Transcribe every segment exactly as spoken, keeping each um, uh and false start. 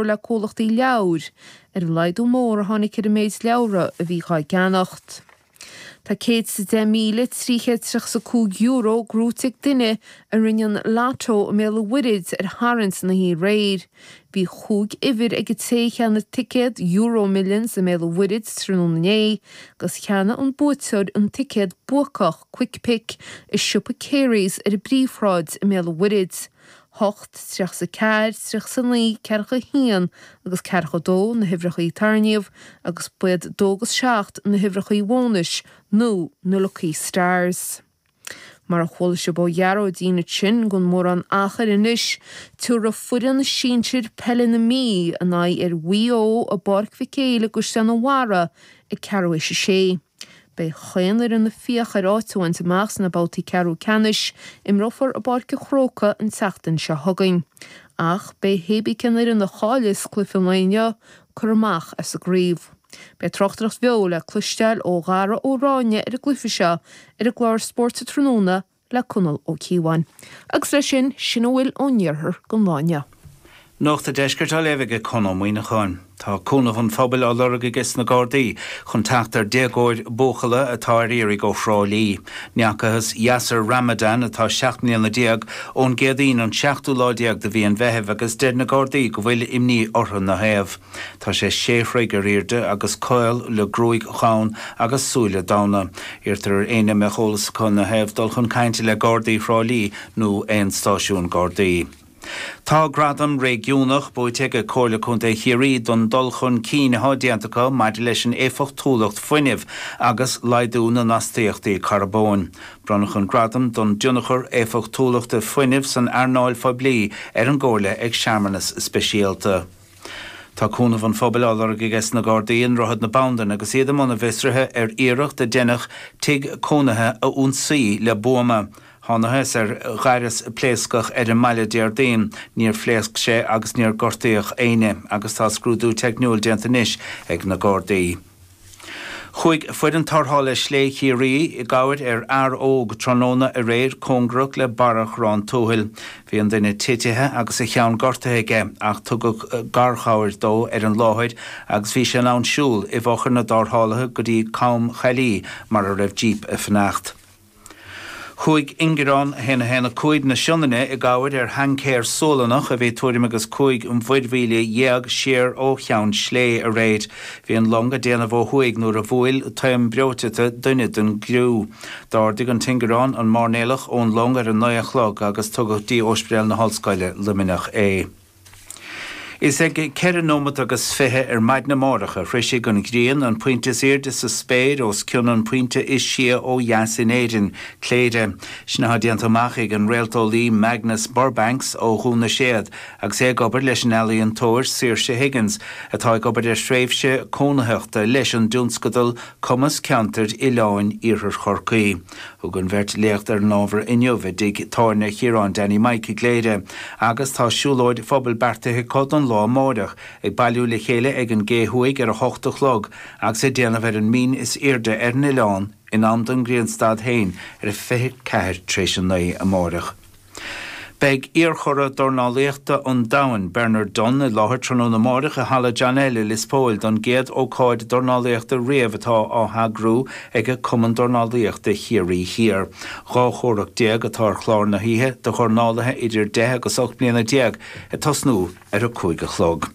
le comhlachtaí leabhar ar an laghdú mór a tháinig ar an méid leabhra a bhí á gceannacht. Tá céad is a deich míle trí chéad tríocha is a cúig euro gnóthaithe ag duine a rinne an Lotto i mBéal an Mhuirthead ar tharraingt na hoíche aréir. Bhí chúig uimhir ag an té a cheannaigh ticéad Euro Millions i mBéal an Mhuirthead tráthnóna inné agus cheannaigh an buaiteoir an ticéad buacach Quick Pick i siopa Carey's ar an bPríomhshráid i mBéal an Mhuirthead. hocht, tríocha is a ceathair, tríocha is a naoi, ceathracha a haon agus ceathracha a dó na huimhreacha a tarraingíodh agus ba iad dó agus seacht na huimhreacha bónais nó na Lucky Stars. Mar a chuala sibh ó Ghearóidín ansin gan mórán achair anois, tabharfaidh foireann sinsir peile na Mí a n-aghaidh ar Mhaigh Eo i bPáirc Mhic Éil i gCaisleán an Bharraigh ag ceathrú théis a sé. Beidh chaon fhoireann ag fiach ar áit a bhaint amach sna babhtaí ceathrú ceannais, imreofar i bPáirc an Chrócaigh an tseachtain seo chugainn. Ach beidh hébí cén fhoireann a chailleas cluiche an lae inniu curtha amach as an gcraobh. Beidh tráchtaireacht bheo le cloisteáil ó Dhara Ó Ráinne ar an gcluiche seo ar an gclár Spórt Tráthnóna le Conall Ó Cíobháin. Agus leis sin, sin a bhfuil ón iarthar don lá inniu. Nuacht an Deiscirt á léamh ag Conn Ó Muíneacháin. Tá cúnamh an phobail á lorg aige na Gardaí chun teacht ar déagóir buachalla atá ar iarraidh ó Thrá Lí. N'fheacathas Yasser Ramadan atá seacht mbliana déag ón gCéadaoin an seachtú lá déag de mhí an Mheithimh agus deir na Gardaí go bhfuil imní orthu ina thaobh. Tá sé sé throigh ar airde agus caol le gruaig dhonn agus súile donn. Iarrtar ar éinne a mbeadh eolas acu ina thaobh dul chun cainte le Gardaí Thrá Lí nó aon stáisiún Gardaí. Tá gradam réigiúnach buaite ag Comhairle Contae Chiarraí don dul chun cinn atá déanta acu maidir leis an éifeachtúlacht fuinnimh agus laghdú na n-astaíochtaí carbóin. Bronnadh an gradam don tionchar éifeachtúlachta fuinnimh san earnáil phoiblí ar an gcomhairle ag searmanas speisialta. Tá cúnamh an phobail á lorg aige na Gardaí i nDroichead na Bandan agus iad i mbun a bhfiosraithe ar iarracht a deineadh tigh cónaithe a ionsaí le buama. Thángthas ar ghaireas pléascach ar an mbaile Déardaoin, níor phléasc sé agus níor gortaíodh éinne agus tá scrúdú teicniúil déanta anois ag na Gardaí. Chuaigh foireann tarrthála Slé Chiarraí i gcabhair ar fhear óg tráthnóna aréir cóngarach le Barra Chorrán Tuathail. Bhí an duine titithe agus a cheann gortaithe aige ach tugadh garchabhair dó ar an láthair agus bhí sé in ann siúl i bhfochair na dtarrthálaithe go dtí Com Chaillí mar a raibh jíp ag fanacht. Chuaigh Ingearán a haon a haon a cúig na Sionainne i gcabhair ar thaincéir Sualannach a bhí tuairim agus cúig mhuirmhíle dhéag siar ó Cheann Slé aréir. Bhí an long ag déanamh ó thuaidh nuair a bhuail taom breoiteachta duine den gcriú. D'ardaigh an tIngearán an mairnéalach ón long ar a naoi a chlog agus tugadh dtí Ospidéal na hOllscoile Luimneach é. Is ag ceithre nóiméad agus fiche ar maidin amárach a shroisfidh an ghrian an pointe is airde sa spéir os cionn an pointe is sia ó dheas in Éirinn, Cléire. Sin atá déanta amach ag an réalteolaí Magnus Burbanks ó Dhún na Séad agus é ag obair leis an ealaíontóir Saoirse Higgins atá ag obair ar thréimhse cónaitheachta leis an dtionscadal Cumas Ceantair Oileáin Iarthar Chorcaí. Thug an bheirt léacht ar an ábhar inniu i dtigh tábhairne Chiaráin Danny Mike i gCléire agus tá siúlóid phobail beartaithe acu don lá amárach ag bailiú le chéile ag an gCé Thuaidh ar a hocht a chlog agus ag déanamh ar an mbinn is airde ar an oileán in am don ghrianstad féin ar a fiche ceathair tar éis a naoi amárach. Beidh iarchuradh dornálaíochta an domhain Bernard Dunne i láthair tráthnóna amárach i Halla John L i Lios Póil don gcéad ócáid dornálaíochta riamh atá á heagrú ag Cumann Dornálaíochta Chiarraí Thiar. Dhá chomhrac déag atá ar chlár na hoíche do dhornálaithe idir deich agus ocht mbliana déag ag tosnú ar a cúig a chlog.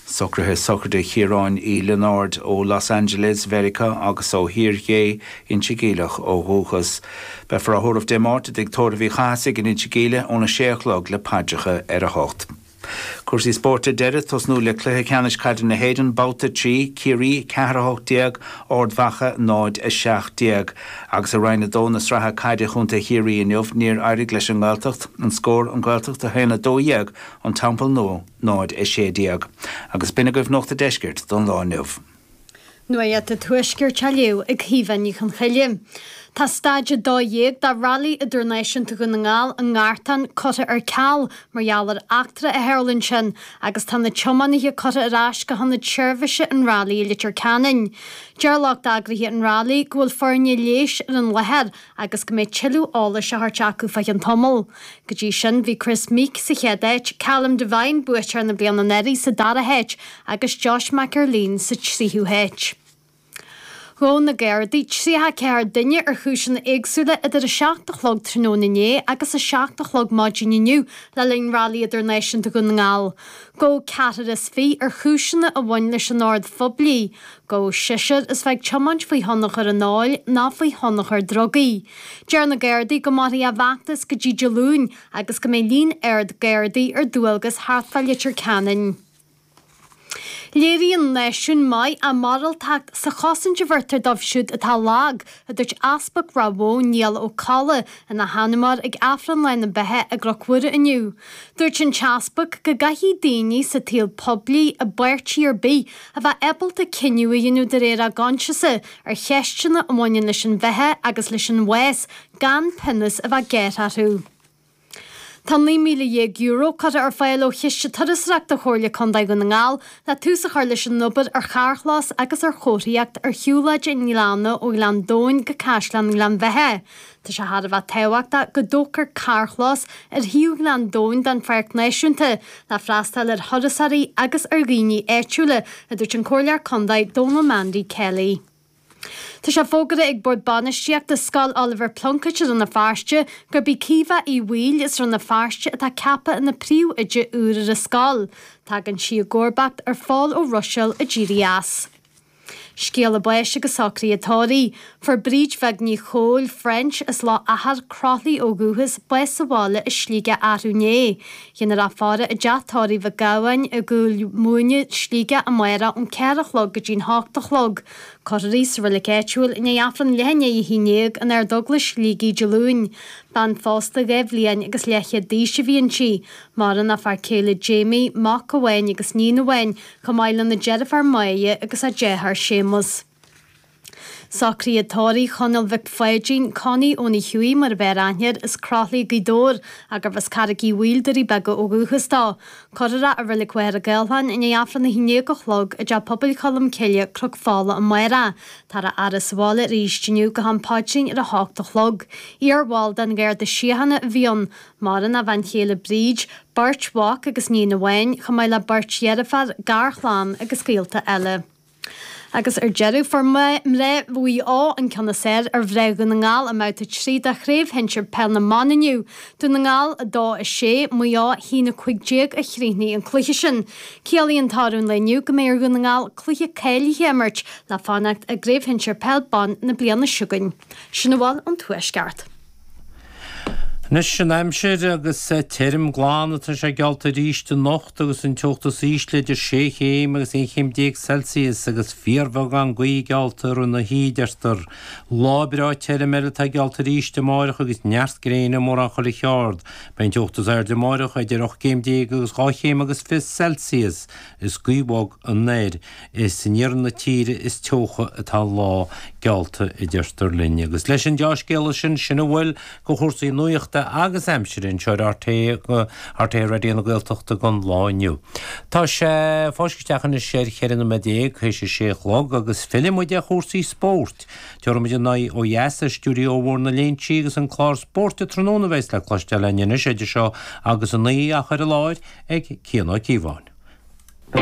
Socruithe sochraide Chiaráin Uí Lionáird ó Los Angeles, Mheiriceá agus ó Thír Ghé Inse Geimhleach ó dhúchas. Beifear á thórramh Dé Máirt i dtigh tórraimh Uí Chathasaigh in Inse Geimhle óna sé a chlog le paidreacha ar a hocht. Cúrsaí spóirt ar deireadh tosnú le cluiche ceannais caide na hÉireann babhta trí Ciarraí ceathair a hocht déag Ard Mhacha náid a seacht déag. Agus i Roinn a dó na sraithe caide Chontae Chiarraí inniu níor éirigh leis an nGaeltacht an scór an Ghaeltacht a haon a dó dhéag an Teampall Nua náid a sé déag. Agus b'in agaibh Nuacht an Deiscirt don lá inniu. Nuacht an Tuaiscirt á léamh ag Caoimhe Ní Chonchoille. Tá Staid a dó dhéag de Railí Idirnáisiúnta Dhún na nGall i nGartán curtha ar ceal mar gheall ar eachtra a tharla ansin agus tá na tiománaithe curtha ar ais go hionad seirbhíse an Railí i Leitir Ceanainn. Deir lucht eagraithe an Railí go bhfuil foirne leighis ar an láthair agus go mbeidh tuilleadh eolais á thabhairt acu fá cheann tamaill. Go dtí sin bhí Kris Meeke sa chéad áit, Callum Devine, buaiteoir na bliana anuraidh sa dara háit agus Josh McErlean sa tríú háit. Ghabh na Gardaí tríocha a ceathair duine ar chúiseanna éagsúla idir a seacht a chlog tráthnóna inné agus a seacht a chlog maidin inniu le linn Railí Idirnáisiúnta Dhún na nGall. Gabhadh ceathrar is fiche ar chúiseanna a bhain leis an ord phoiblí. Gabhadh seisear as bheith ag tiomáint faoi thionchar an óil nó faoi thionchar drugaí. Deir na Gardaí go mairfidh a bhfeachtas go dtí Dé Luain agus go mbeidh líon ard Gardaí ar dualgas thart fá Leitir Ceanainn. Léiríonn náisiún maith a mhoráltacht sa chosaint a bheirtear dóibh siúd atá lag, a dúirt Easpag Ráth Bhoth, Niall Ó Colla, ina sheanmóir ag Aifreann Lá na Beatha i gCnoc Mhuire inniu. Dúirt an tEaspag go gcaithfidh daoine sa tsaol poiblí i bpáirtí ar bith a bheith ábalta cinneadh a dhéanamh de réir a gcoinsiasa ar cheisteanna a bhaineann leis an bheatha agus leis an bhás gan pionós a bheith gearrtha orthu. Tá naoi míle dhéag euro curtha ar fáil ó Chiste Turasóireachta Chomhairle Contae Dhún na nGall le tús a chur leis an obair ar charrchlós agus ar chomharthaíocht ar shiúlóid an Ghleanna ó Ghleann Domhain go Caisleán Ghleann Bheatha. Tá sé thar a bheith tábhachtach go dtógfar carrchlós ar thaobh Ghleann Domhain den Pháirc Náisiúnta le freastal ar thurasóirí agus ar dhaoine áitiúla, a dúirt an Comhairleoir Contae Donal Mandy Kelly. Tá sé fógartha ag Bord Bainistíochta Scoil Oliver Plunkett i Rann na Feirste gurb í Caoimhe Uí Bhaoill as Rann na Feirste atá ceaptha ina príomhoide úr ar an scoil. Tagann sí i gcomharbacht ar Phól Ó Ruiséil a d'éirigh as. Scéala báis agus socruithe tórraimh. Fuair Bríd Bheag Ní Chóill, French, as Loch Achair, Croithlí ó dhúchas, bás sa bhaile i Sligeach arú inné. Déanfar í a fhaire i dteach tórraimh Mhic Gabhann i gCúil Mhúine, Sligeach amárach ón ceathair a chlog go dtí'n hocht a chlog. Cuirfear í sa reilig áitiúil i ndiaidh Aifreann leath i ndiaidh a haon déag in Ardeaglais Shligigh Dé Luain. Bean phósta dhá bhliain agus leathchéad d'aois a bhí inti. Maireann a fear céile Jamie, mac amháin agus níon amháin, chomh maith lena deirfiúr Máire agus a deartháir Séamus. Socruithe tórraimh Chonaill Mhic Pháidín, Connie óna Hughie mar a b'fhearr aithne air, as Croithlí Gaoth Dobhair, gurbh as Carraig Uí Bhaoill, Doirí Beaga ó dhúchas dó. Cuirfear é i Reilig Mhachaire Gathlán i ndiaidh Aifreann a haon déag a chlog i dTeach Pobail Cholm Cille, Cnoc Fola amárach. Táthar á fhaire sa bhaile arís inniu go ham paidrín ar a hocht a chlog. Iarbhall den Gharda Síochána a bhí ann. Maireann a bhean chéile Bríd, beirt mhac agus níon amháin, chomh maith le beirt dheirfiúr, garchlann agus gaolta eile. Agus ar deireadh fuair mná Mhaigh Eo an ceann is fearr ar mhná Dhún na nGall i mbabhta trí de Chraobh Shinsir Peil na mBan inniu. Dún na nGall a dó a sé, Maigh Eo a haon a cúig déag a chríochnaigh an cluiche sin. Ciallaíonn toradh an lae inniu go mbeidh ar Dhún na nGall cluiche cáilithe a imirt le fanacht i gCraobh Shinsir Peil Ban na bliana seo chugainn. Sin a bhfuil ón Tuaisceart. Anois an aimsir agus tirim glan atá sé geallta arís anocht agus an teocht is ísle idir sé chéim agus aon chéim déag Celsius agus fíorbheagán gaoithe geallta ar na hoíche deirtear. Lá breá tirim eile atá geallta arís amárach agus neart gréine mórán chuile cheard. Beidh an teocht is airde amárach idir ocht gcéim déag agus dhá chéim agus fiche Celsius is gaoth bhog anoir. Is in iarthar na tíre is teocha atá an lá geallta a deirtear linn. Agus leis an dea-scéala sin sin a bhfuil de chúrsaí nuachta agus aimsire anseo ar RTÉ RTÉ Raidió na Gaeltachta don lá inniu. Tá sé fáiscthe isteach anois ar cheithre nóiméad déag théis a sé a chlog agus fillfidh muid ar chúrsaí spóirt. Tabharfaidh muid an aghaidh ó dheas ar stiúideo mhór na Léinsí agus an clár spóirt tráthnóna a bheas le cloisteáil againn anois idir seo agus a naoi á chur i láthair ag Cian Ó Cíobháin.